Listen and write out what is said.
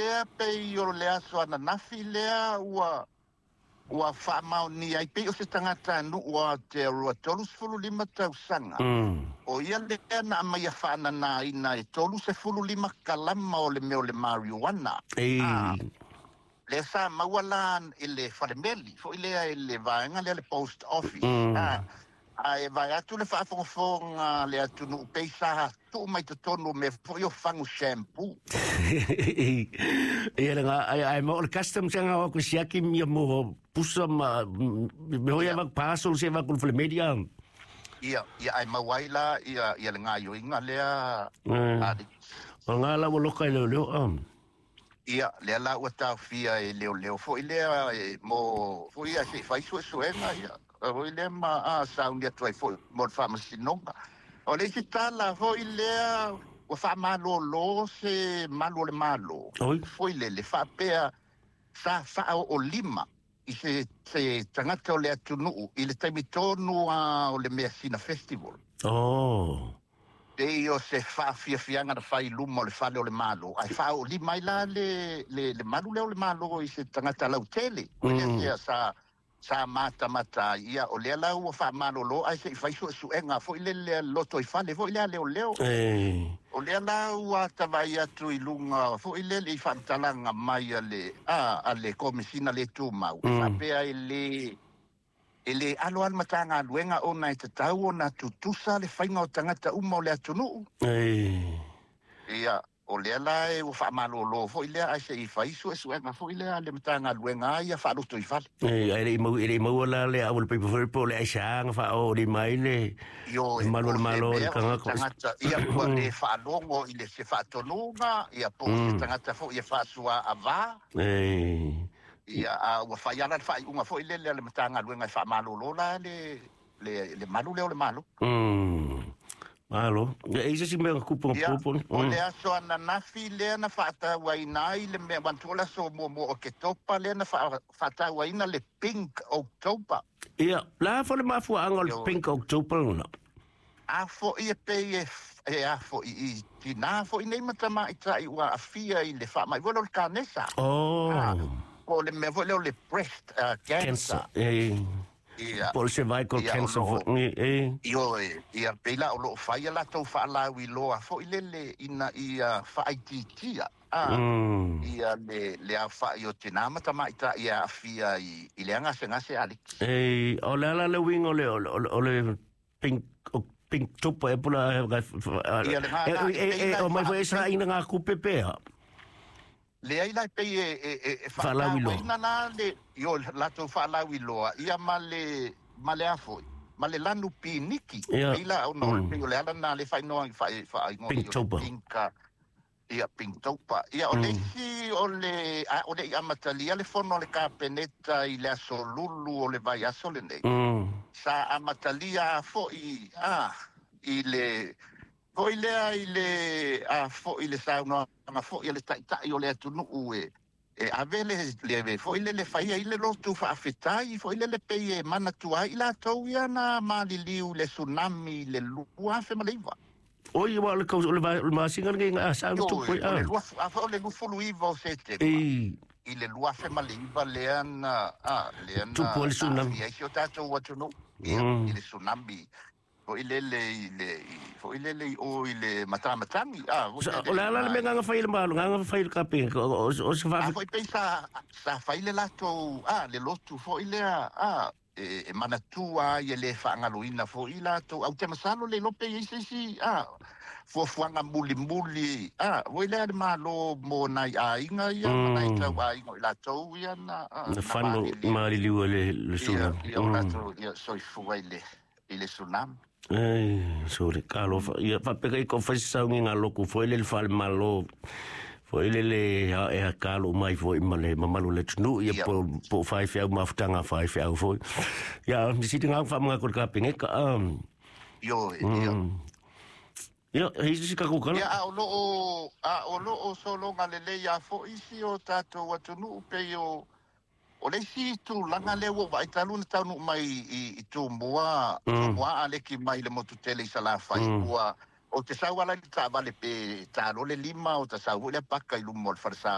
lea pei o le aso ananafi lea ua faamaonia ai pei o se tagatanuu o Aotearoa 35 tausaga. O ia lea na aumaia faananaina e 35 kalama o le mea o le marijuana. Lea sa maua la i le falemeli foi lea i le vaega lea le post office. Ae vae atu le faafogafoga a le atunuu pei sa tuu mai totonu o mea foi o fagu shampoo. Ia le ai mo le custom se nga o ku siaki mi mo pusa ma me hoi va parcel se va ku le media. Ia ia ai mau ai la ia ia le gaioiga lea. O nga la wo loka le le. Ia lea la ua taofia e leoleo foi lea mo foi ia se fai suesuega ia foi lea ma sauni atu ai foi mo le faamasinoga. O le isi tala foi lea ua faamalōlō se malu o le Malo foi lele faapea sa faaoolima i se tagata o le atunuu i le taimi tonu o le Measina Festival. Pei o se faafiafiaga na fai i luma o le fale o le Malo, ae faaoolima ai la le malu lea o le Malo i se tagata lautele. O lea sa matamata ai, ia o lea la ua faamalōlō ae se i fai suesuega foi lele loto i fale foi lea leoleo. O lea la ua atavai atu i luga foi lele i faamatalaga mai a le Komesina le Tumau. Faapea e le alo alo Matagaluega ona e tatau ona tutusa le faiga o tagata uma o le atunuu. Ia o lea la e ua faamalōlō foi lea ae se i fai suesuega foi lea le Matagaluega ia faaloto i fale. Ai le mau la le au le paper foi po le aisa nga fa o le mai le malu o le Malo le tagata ia ua le faalogo i le se faatonuga ia po se tagata foi ia faasua ava. Ia a ua fai ala le faaiuga foi lele a le Matagaluega e faamalōlō la le malu lea o le Malo. Malo. Ia e se mea kupu kupu. O le aso ananafi lea na faatauaina ai le mea manatu o le aso muamua o Oketopa lea na faatauaina le Pink October. Ia, la fo le mafuaaga o le Pink October lona. A foi e pei e a foi i tinā foi nei ma tamaitai ua aafia i le faamai foi lea o le kanesa. Po o le mea foi lea o le breast cancer. Ia po o le cervical cancer foi. Ioe, ia pei la o loo fai a latou faalauiloa foi lele ina ia faaitiitia ia le aofai o tinā ma tamaitai e aafia i le gasegase Alex. O le ala le uiga o le Pink October e pula o mai foi e saina ngā kupe pea. Leai la pei e faatauaina la le io latou faalauiloa ia ma le afoi ma le lanu piniki. Pei la ona o le ala na le faaigoa Pink ia Pinktober. Ia o le isi o le o le i amatalia le fono a le Kapeneta i le aso Lulu o le vaiaso lenei. Sa amatalia foi i le foi lea i le foi le saunoaga foi a le taitai o le atunuu e ave le foi le faia i le lotu faafetai foi lele pei e manatua ai i latou ia na maliliu le tsunami i le 2009. Oi wa le kau le masinga ngai nga sa tu foi a. O le 29 o Setema. I le 2009 lea na lea na tupu le tsunami. Ia si o tatou atunuu i le tsunami. Foi lele i le foi lele o i le matamatagi. O le ala le mea nga fai le malo nga fai le kape o se fa. Foi pei sa fai le latou le lotu foi lea e manatua ai e le faagaloina foi latou au te masalo le lope i se isi fuafuaga mulimuli foi lea le Malo mo nai aiga ia ma nai tauaiga o i latou ia na fano maliliu le tsunami. Ia o latou ia soifua i le tsunami. Sorry, kalo ia faapea i ko fai saungi ngā loku foi le fale malo foi le e kalo mai foi ma le mamalu le tunu ia po fai fiau mafutanga fai fiau foi. Ia mi siti ngā wha mga ko ka pengeka. Io ia. Ia hei ka kukala. Ia a o lo o solonga lelei a foi si o tatou atunuu pei o O le isi tulaga lea ua vaai talu na taunuu mai i Tumua, Tumua a leki mai le motu tele i Salafai, ua o te sau ala i le taavale pe talo le lima o ta sau foi lea paka i luma o le falesa